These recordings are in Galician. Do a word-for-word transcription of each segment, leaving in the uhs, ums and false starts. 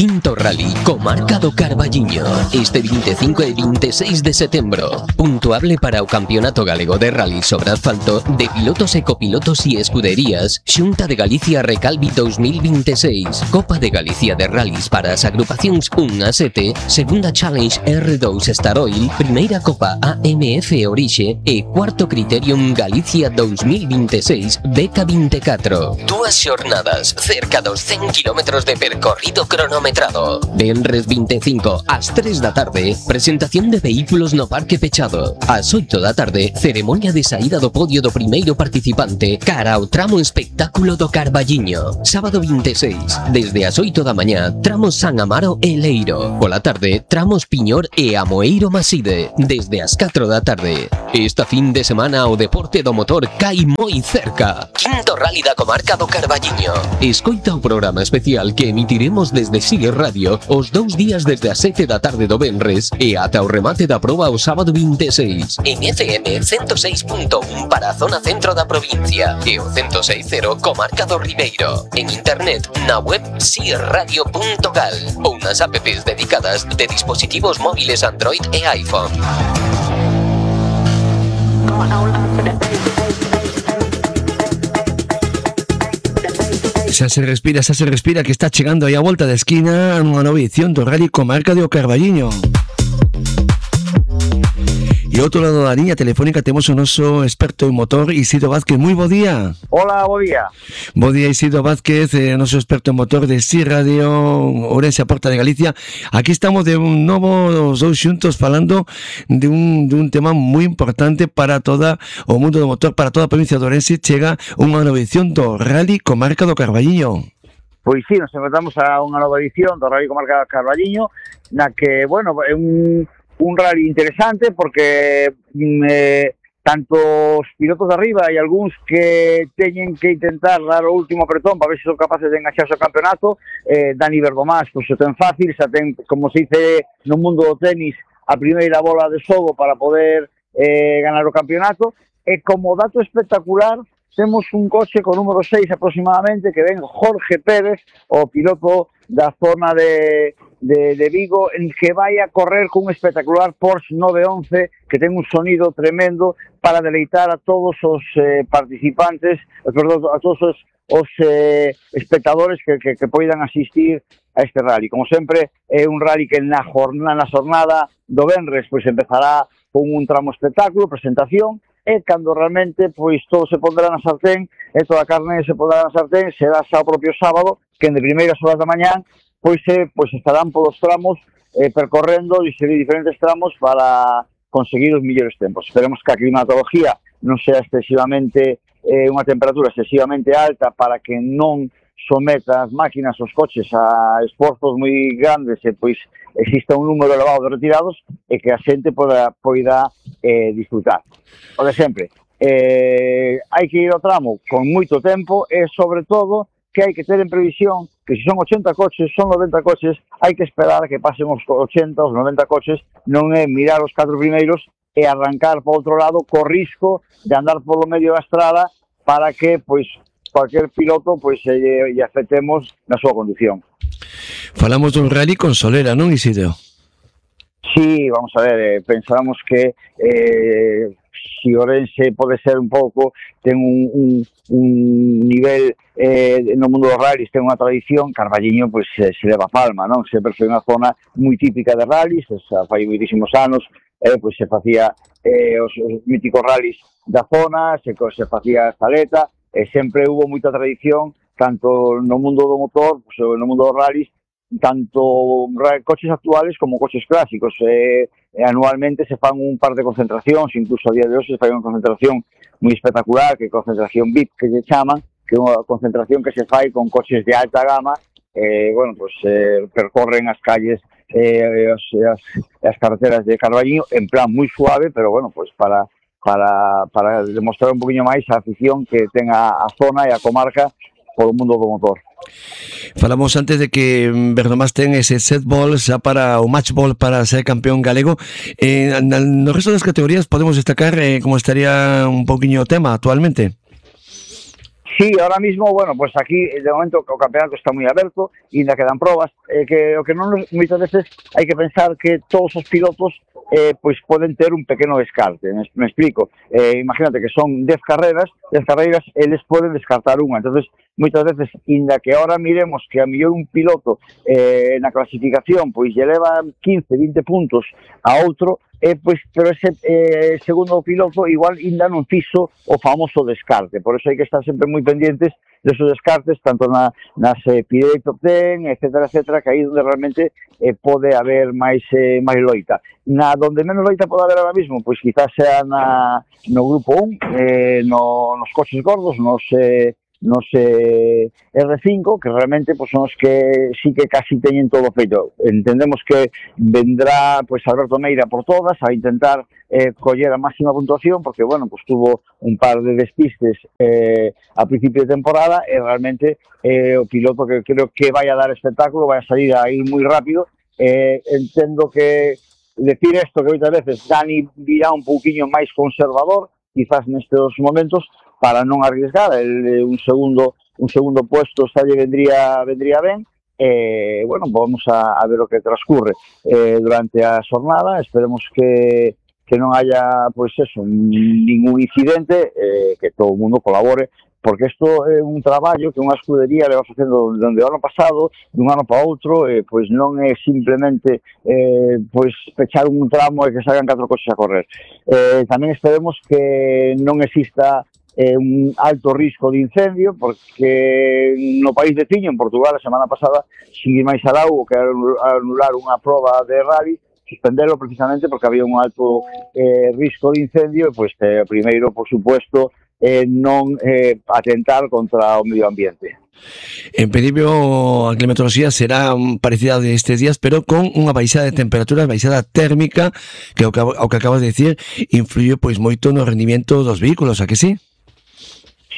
Quinto Rally Comarca do Carballiño este vinte e cinco e vinte e seis de setembro. Puntuable para o Campeonato Galego de Rally sobre asfalto de pilotos e copilotos e escuderías Xunta de Galicia Recalvi dos mil vinte e seis. Copa de Galicia de Rallys para as agrupacións un a sete, Segunda Challenge R dous Star Oil, Primeira Copa A M F Orixe e Cuarto Criterium Galicia dos mil vinte e seis D K vinte e catro. Dúas xornadas, cerca dos cen kilómetros de percorrido cronometrado. Venres vinte e cinco, ás tres da tarde, presentación de vehículos no parque pechado. Ás oito da tarde, ceremonia de saída do podio do primeiro participante cara ao tramo espectáculo do Carballiño. Sábado vinte e seis, desde as oito da mañá, tramos San Amaro e Leiro. Pola tarde, tramos Piñor e Amoeiro Maside, desde as catro da tarde. Esta fin de semana o deporte do motor cai moi cerca. Quinto Rally da Comarca do Carballiño. Escoita o programa especial que emitiremos desde Sigue Radio os dous días desde as sete da tarde do venres e ata o remate da proba o sábado vinte e seis. En F M ciento seis punto un para a zona centro da provincia e o ciento seis punto cero Comarca do Ribeiro. En internet na web sigue radio punto gal ou nas apps dedicadas de dispositivos móviles Android e iPhone. Xa se respira, xa se respira que está chegando aí a volta da esquina unha nova edición do Rally Comarca do Carballiño. E ao outro lado da liña telefónica temos o noso experto en motor, Isidro Vázquez. Moi bo día. Hola, bo día. Bo día, Isidro Vázquez, eh, noso experto en motor de S I Radio Ourense a Porta de Galicia. Aquí estamos de un novo, os dous xuntos, falando de un, de un tema moi importante para toda o mundo do motor, para toda a provincia de Ourense. Chega unha nova edición do Rally Comarca do Carballiño. Pois sí, nos encontramos a unha nova edición do Rally Comarca do Carballiño, na que, bueno, é un... un rally interesante porque eh, tanto os pilotos de arriba e algúns que teñen que intentar dar o último apretón para ver se son capaces de engaxarse ao campeonato, eh, Dani Verdomás, pois o ten fácil, xa ten, como se dice no mundo do tenis, a primeira bola de xogo para poder eh, ganar o campeonato, e como dato espectacular temos un coche con número seis aproximadamente que ven Jorge Pérez, o piloto da zona de, de, de Vigo, en que vai a correr cun espectacular Porsche nove once que ten un sonido tremendo para deleitar a todos os eh, participantes, perdón, a todos os, os eh, espectadores que, que, que poidan asistir a este rally. Como sempre, é un rally que na jornada, na xornada do venres pois empezará con un tramo espectáculo, presentación, e cando realmente pois todo se pondrá na sartén e toda a carne se pondrá na sartén será xa o propio sábado, que en de primeiras horas da mañán pois, eh, pois estarán polos tramos eh, percorrendo diferentes tramos para conseguir os millores tempos. Esperemos que a climatología non sea excesivamente eh, unha temperatura excesivamente alta para que non someta as máquinas, os coches a esforzos moi grandes e pois exista un número elevado de retirados e que a xente poda, poida eh, disfrutar. O de sempre, eh, hai que ir ao tramo con moito tempo e sobre todo que hai que ter en previsión que se son ochenta coches, son noventa coches, hai que esperar a que pasen os ochenta, os noventa coches, non é mirar os catro primeiros e arrancar para outro lado co risco de andar polo medio da estrada para que, pois, cualquier piloto pois lle, lle afectemos na súa conducción. Falamos dun rally con Solera, non, Isidro? Sí, vamos a ver, eh, pensábamos que eh, si Ourense pode ser un pouco, ten un, un, un nivel eh, no mundo dos rallies, ten unha tradición, Carballiño pois se, se leva a palma, non? Sempre foi unha zona moi típica de rallies, xa fai moitísimos anos, eh, pois se facía eh, os, os míticos rallies da zona, se, se facía estaleta, e sempre hubo moita tradición, tanto no mundo do motor, pois, no mundo dos rallies, tanto coches actuales como coches clásicos. Eh, eh, anualmente se fan un par de concentracións, incluso a día de hoxe se fai unha concentración moi espectacular, que é concentración V I P, que se chama, que é unha concentración que se fai con coches de alta gama, eh, bueno, pues eh, percorren as calles eh, as, as, as carreteras de Carballiño en plan moi suave, pero bueno, pues para para para demostrar un poquinho máis a afición que ten a, a zona e a comarca polo mundo do motor. Falamos antes de que Verdomás ten ese set ball xa para o match ball para ser campeón galego. Eh, no resto das categorías podemos destacar eh, como estaría un poquinho o tema actualmente. Sí, ahora mismo, bueno, pues aquí de momento o campeonato está moi aberto e ainda quedan probas, eh, que o que non moitas veces hai que pensar que todos os pilotos eh, pois poden ter un pequeno descarte, me, me explico, eh, imagínate que son dez carreras, dez carreiras, eles poden descartar unha, entonces moitas veces, ainda que ahora miremos que a mellor un piloto eh, na clasificación pois lle leva quince, vinte puntos a outro, Eh, pois, pero ese eh, segundo piloto igual ainda non fixo o famoso descarte, por eso hai que estar sempre moi pendientes desos descartes, tanto na, nas eh, Pirelli Top ten, etcétera, etcétera, que aí onde realmente eh, pode haber máis eh, máis loita. Na donde menos loita pode haber ahora mismo, pois quizás sea na, no grupo un, eh, no, nos coches gordos, nos... Eh, nos eh, R cinco, que realmente pues, son os que sí que casi teñen todo feito. Entendemos que vendrá pues Alberto Meira por todas a intentar eh, coller a máxima puntuación, porque bueno, pues tuvo un par de despistes eh, a principio de temporada e realmente eh, o piloto que creo que vai a dar espectáculo, vai a salir aí moi rápido. Eh, entendo que decir isto que moitas veces Dani virá un pouquiño máis conservador, quizás nestes momentos, para non arriesgar, el, un segundo un segundo puesto xa lle vendría vendría ben. Eh, bueno, vamos a, a ver o que transcurre eh, durante a xornada, esperemos que que non haya, pois eso, ningún incidente, eh, que todo o mundo colabore, porque isto é un traballo que unha escudería le va facendo dende o ano pasado, dun ano para outro, eh, pois non é simplemente eh, pois pechar un tramo e que salgan catro coches a correr. Eh, tamén esperemos que non exista eh, un alto risco de incendio, porque no país veciño, en Portugal, a semana pasada, Xigi máis alou que anular unha proba de rally, suspendelo precisamente porque había un alto eh, risco de incendio, e pois eh, primeiro, por supuesto, eh, non eh, atentar contra o medio ambiente. En principio a climatoloxía será parecida de estes días, pero con unha baixada de temperaturas, baixada térmica, que o que, o que acabas de decir influye pois moito no rendimiento dos vehículos, a que sí?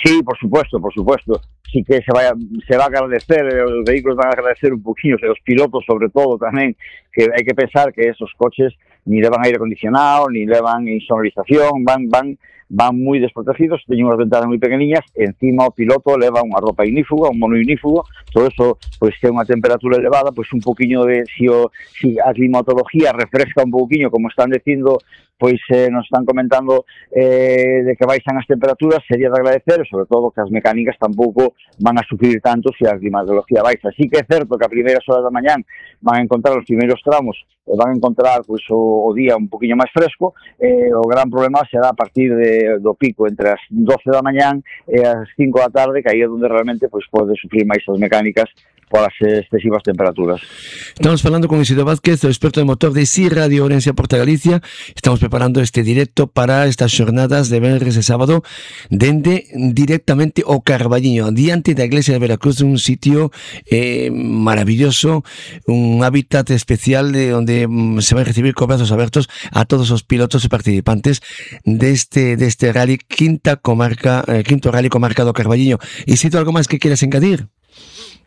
Sí, por supuesto, por supuesto. Sí que se vai a, se va a agradecer, os vehículos van a agradecer un poquinho, os pilotos sobre todo tamén, que hai que pensar que esos coches ni levan aire acondicionado, ni levan insonorización, van van van moi desprotegidos, teñen unhas ventanas moi pequeniñas, e encima o piloto leva unha roupa ignífuga, un mono ignífugo, todo eso, pois que é unha temperatura elevada, pois un poquinho de, si, o, si a climatología refresca un poquinho, como están dicindo, pois eh, nos están comentando eh, de que baixan as temperaturas, sería de agradecer, e sobre todo que as mecánicas tampouco van a sufrir tanto se a climatología baixa. Así que é certo que a primeiras horas da mañán van a encontrar os primeiros tramos, e van a encontrar pois, o, o día un poquinho máis fresco, eh, o gran problema será a partir de, do pico entre as doce da mañán e as cinco da tarde, que aí é onde realmente pois, pode sufrir máis as mecánicas polas excesivas temperaturas. Estamos falando con Isidro Vázquez, o experto de motor de Si Radio Ourense Porta Galicia. Estamos preparando este directo para estas xornadas de venres e sábado dende directamente o Carballiño, diante da iglesia de Veracruz, un sitio eh, maravilloso, un hábitat especial de onde mm, se van a recibir con brazos abertos a todos os pilotos e participantes deste deste rally quinta comarca, eh, quinto rally comarca do Carballiño. Isidro, algo máis que quieras engadir?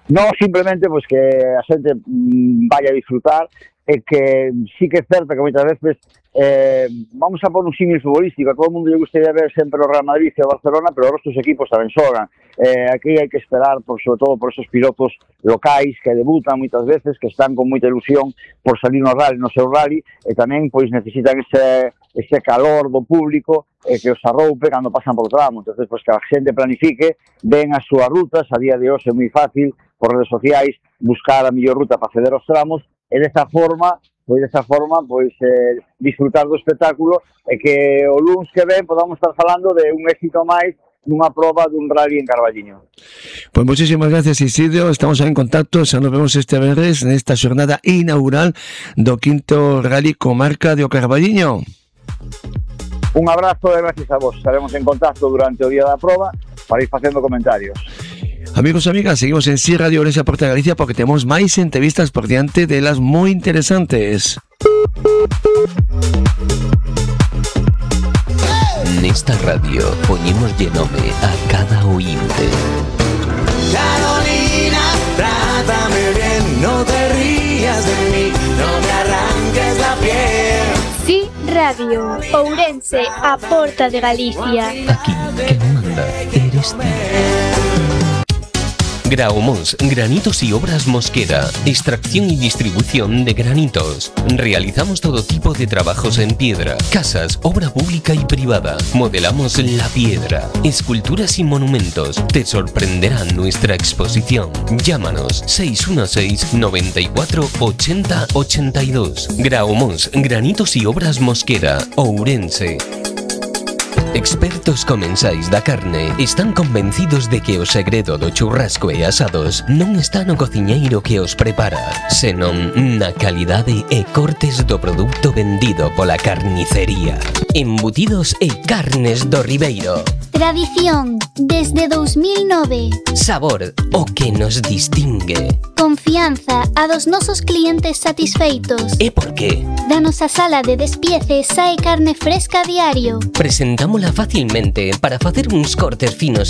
No, simplemente pues que a xente mmm, vaya a disfrutar, e que sí que é certo que moitas veces eh, vamos a pôr un símil futbolístico, a todo o mundo lle gustaría ver sempre o Real Madrid e o Barcelona, pero os outros equipos tamén xogan. Eh, aquí hai que esperar, por, sobre todo por esos pilotos locais que debutan moitas veces, que están con moita ilusión por salir no rally, no seu rally, e tamén pois necesitan ese, ese calor do público e que os arroupe cando pasan por tramo. Entonces, pois que a xente planifique, ven as súas rutas, a día de hoxe é moi fácil por redes sociais buscar a mellor ruta para acceder aos tramos, e desta forma, pois desta forma, pois eh, disfrutar do espectáculo, e que o luns que ven podamos estar falando de un éxito máis nunha proba dun rally en Carballiño. Pois muchísimas gracias, Isidro, estamos en contacto, xa nos vemos este venres nesta xornada inaugural do quinto rally comarca de o Carballiño. Un abrazo e gracias a vos, estaremos en contacto durante o día da proba para ir facendo comentarios. Amigos e amigas, seguimos en Si Radio Ourense Porta Galicia porque temos máis entrevistas por diante de las moi interesantes. Nesta radio poñémoslle nome a cada oínte. Carolina, trátame bien, no te rías de mí, no me arranques la piel. Si Radio Ourense a Porta de Galicia. Aquí, que manda, eres ti. Graumos, granitos y obras Mosquera, extracción y distribución de granitos. Realizamos todo tipo de trabajos en piedra, casas, obra pública y privada. Modelamos la piedra, esculturas y monumentos. Te sorprenderá nuestra exposición. Llámanos seis uno seis, noventa y cuatro, ochenta, ochenta y dos. Graumos, granitos y obras Mosquera, Ourense. Expertos comensais da carne están convencidos de que o segredo do churrasco e asados non está no cociñeiro que os prepara, senón na calidade e cortes do produto vendido pola carnicería. Embutidos e carnes do Ribeiro. Tradición desde dos mil nove. Sabor, o que nos distingue. Confianza a dos nosos clientes satisfeitos. E por qué? Da nosa sala de despiece sae carne fresca a diario. Presentámola facilmente para facer uns cortes finos